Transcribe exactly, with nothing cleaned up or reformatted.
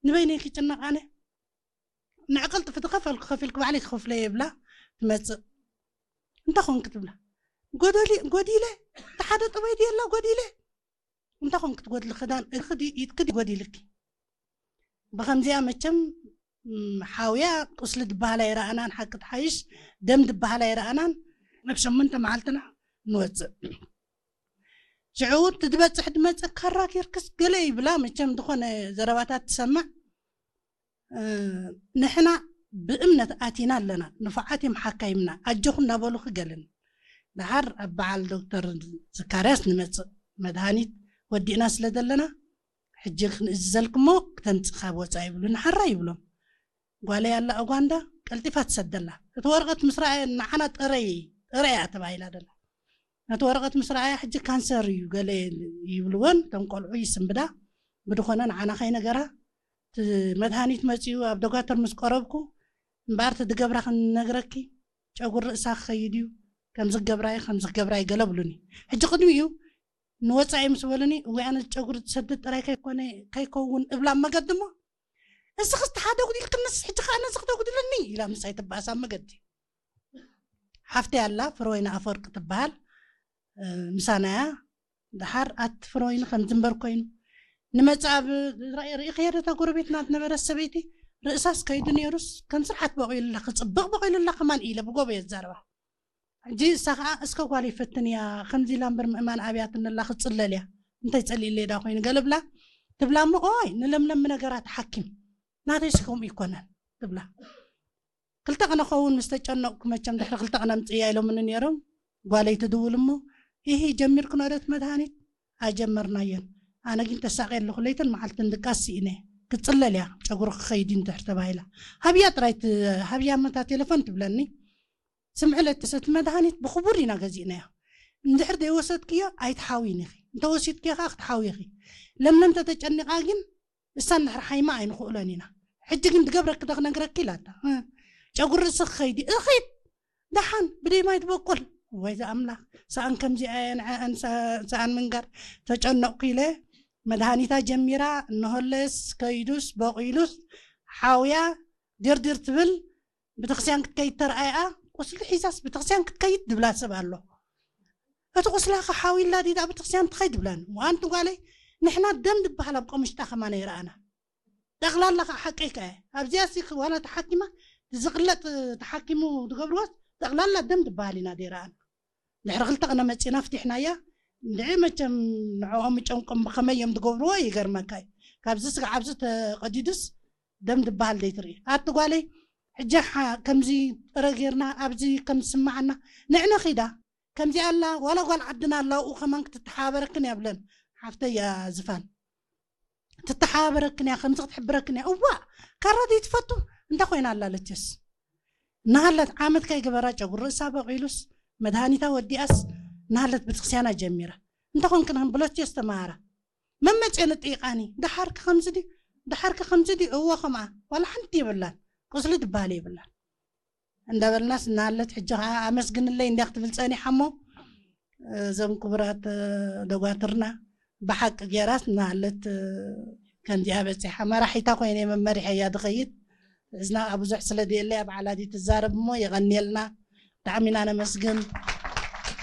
ንበይነይ ክጭነቅ ኣነ። ንዕቅል ጥፍቲ ከፈልኩ፣ ከፊልኩ ባዕለይ ክኸፍለየ እብላ ትመጽእ። እንተ ኾንክ ትብላ። ጎደሊ-፣ ጎዲለ፣ እተ ሓደ ጥበይ ድየላ ጎዲለ። እንተ ኾንክ ትጎድሊ ክዳን እግርኪ ዲ-፣ ኢድኪ ዲ ጎዲልኪ። ብኸምዚያ መቸም፣ እም፣ ሓውያ ቁስሊ ድበሃላ ይረኣናን፣ ሓቂ ትሓይሽ ደም ድበሃላ ይረኣናን፣ እብ ሸምንተ መዓልትና ንወጽእ። ሽዑ ትትበጽሕ ድመጽእ ካራ ጌርክስ ገለ ይብላ፣ መቸም ድኾነ ዘረባታት ትሰምዕ። እ፣ ንሕና ብእምነት ኣቲና ኣለና፣ ንፉዓት እዮም ሓካይምና፣ ኣጆኹም እናበሉኺ ገለን። ደሓር ኣብ በዓል ዶክተር ዘካርያስ ንመጽእ፣ መድሃኒት ወዲእና ስለ ዘለና፣ ሕጂ ክንእዝዘልክሞ ክተምጽእ ካብ ወጻኢ ይብሉኒ፣ ሓራይ ይብሎም። ጓለይ ኣላ ኡጋንዳ፣ ቀልጢፋ ትሰደላ። እቲ ወረቐት ምስ ረኣየ ንዓና ጥረይ፣ ጥረያ ተባሂላ ደላ። ነቲ ወረቐት ምስ ረኣያ፣ ሕጂ ካንሰር እዩ ገለ ይብልወን፣ እቶም ቆልዑ ይስንብዳ። ብድኾነ ንዓና ከይነገራ፣ እቲ መድሃኒት መጺኡ ኣብ ዶጋተር ምስ ቀረብኩ፣ እምበኣር እቲ ድገብራ ክንነግረኪ፣ ጨጉር ርእሳ ክኸይድ እዩ፣ ከምዚ ክገብራይ፣ ከምዚ ክገብራይ ገለ ብሉኒ። ሕጂ ቅድሚኡ ንወጻኢ ምስ በሉኒ፣ እወ ኣነ ጨጉር ዝሰድድ ጥራይ ከይኮነ፣ ከይከውን እብላ ኣብ መገዲ እሞ፣ እስኽስ ተሓደጉ ኢልክንስ፣ ሕጂ ከኣ ነዚ ክተጉድለኒ ኢላ ምሳይ ትበኣስ ኣብ መገዲ። ሓፍተይ ኣላ፣ ፍረወይኒ ኣፈወርቂ ትበሃል፣ እ፣ ምሳናያ። ደሓር ኣቲ ፍረወይኒ ከምዚ እምበር ኮይኑ ንመጽእ ኣብ ራእይ ርኢኽያ ዶ እታ ጎረቤትና ዝነበረት ሰበይቲ ርእሳስ ከይዱ ነይሩስ ከም ስርዓት በቂሉላ፣ ክጽብቕ በቂሉላ ከማን ኢለ ብጎቦ የዛርባ። ሕጂ እሳ ከኣ እስከ ጓለይ ፈትንያ፣ ከምዚ ኢላ እምበር ምእማን ኣብያትኒ ኣላ ክጽለል እያ፣ እንታይ ጸሊእለይ ዳ ኮይኑ ገለ ብላ ትብላ እሞ፣ ኦይ ንለምለም ነገራ ተሓኪም፣ ናተይስ ከምኡ ኣይኮነን ትብላ። ክልተ ቅነ ኸውን ምስ ተጨነቅኩ፣ መቸም ድሕሪ ክልተ ቅነ ኣምጽእያ ኢሎምኒ ነይሮም። ጓለይ ትድውል እሞ፣ ኢሂ ጀሚርክኖ ዶ እቲ መድሃኒት? ኣይጀመርናዮን። ኣነ ግን ተሳቅየ ኣለኹ፣ ለይትን መዓልትን ድቃስ ስኢነ። ክጽለል እያ፣ ጨጉሪ ክኸይድ እዩ እንድሕር ተባሂላ። ሃብያ ጥራይ ት-፣ ሃብያ እመ እታ ቴሌፎን ትብለኒ። ስምዒ ለትሰ፣ እቲ መድሃኒት ብክቡር ኢና ገዚእናዮ። እንድሕር ዘይወሰድክዮ ኣይትሓውይን ኢኺ። እንተ ወሲድክዮ ከኣ ክትሓውዪ ኢኺ። ለምለም ተተጨኒቃ ግን እሳ እንድሕር ሓይማ ኣይንኽእሎን ኢና። ሕጂ ግን ድገብረኪ ዶ ክነግረኪ ኢላታ። እ፣ ጨጉሪ ርእሲ ክኸይድ እዩ። እኺድ ደሓን ብደይ ማይ ትበቁል። ወይ ዘኣምላኽ፣ ሰኣን ከምዚ ኣየ ንዐአን ሰ-፣ ሰኣን ምንጋር ተጨነቕኩ ኢለ መድሃኒታ ጀሚራ፣ እነሆለስ ከይዱስ በቂሉስ ሓውያ ድርድር ትብል። ቤተክርስቲያን ክትከይድ ተርኣያ፣ ቁስሊ ሒዛስ ቤተክርስቲያን ክትከይድ ድብላ ሰብ ኣሎ። እቲ ቁስላኸ ሓዊላ ዲዳ ቤተክርስቲያን ትኸይድ ድብላኒ። ወኣንቲ ጓለይ፣ ንሕና ደም ድበሃል ኣብ ቆምሽጣ ከማን ኣይረኣና። ጠቕላላ ከኣ ሓቀይ ከኣ። ኣብዚኣሲ ዋላ ተሓኪማ፣ ዝቕለጥ ተሓኪሙ ዝገብርዎስ፣ ጠቕላላ ደም ድበሃል ኢና ደይረኣና። ድሕሪ ክልተ ቅነ መጺእና ፍቲሕናያ። እንድዒ መቸም ንዕኦም ምጨንቆም ብኸመይ እዮም ዝገብርዎ ይገርመካ እዩ። ካብዚ ስጋዕ ኣብዚ ተቀዲዱስ ደም ድበሃል ዘይትርኢ። ኣቲ ጓለይ፣ ሕጂ ሓ-፣ ከምዚ ጥረ ጌርና ኣብዚ ከም ዝስምዓና ንዕነ ኺዳ፣ ከምዚ ኣላ፣ ዋላ ጓል ዓድና ኣላ፣ ኣብኡ ከማን ክትተሓባበረክን እያ ብለን። ሓፍተይ እያ ዝፋን። ትተሓባበረክን እያ፣ ከምዚ ክትሕብረክን እያ። እዋእ፣ ካራ ዘይትፈቱ እንተ ኮይና ኣላለችስ። እናሃለት ዓመት ከይገበራ ጨጉር ርእሳ በቂሉስ፣ መድሃኒታ ወዲኣስ፣ እናሃለት ቤተክርስቲያና ጀሚራ። እንተ ኾንክን ከም ብሎቼ ኣስተምሃራ። መመጽኤ ንጥይቃኒ፣ ደሓርክ ከምዚ ድዩ? ደሓርክ ከምዚ ድዩ? እወ ከምኣ። ዋላ ሓንቲ የብላን። ቁስሊ ድበሃል የብላን። እንዳበልናስ እናሃለት፣ ሕጂ ኸዓ ኣመስግንለይ እንድያ ክትብል ጸኒሓ እሞ፣ እዞም ክቡራት ደጓትርና ብሓቂ ጌራስ እናሃለት ከምዚኣ በጺሓ። መራሒታ ኮይነ መመሪሐያ ድኸይድ። እዝና ከኣ ብዙሕ ስለ ድየለይ ኣብ ዓላዲ ትዛረብ እሞ የቐንየልና። ብጣዕሚ ኢና ነመስግን።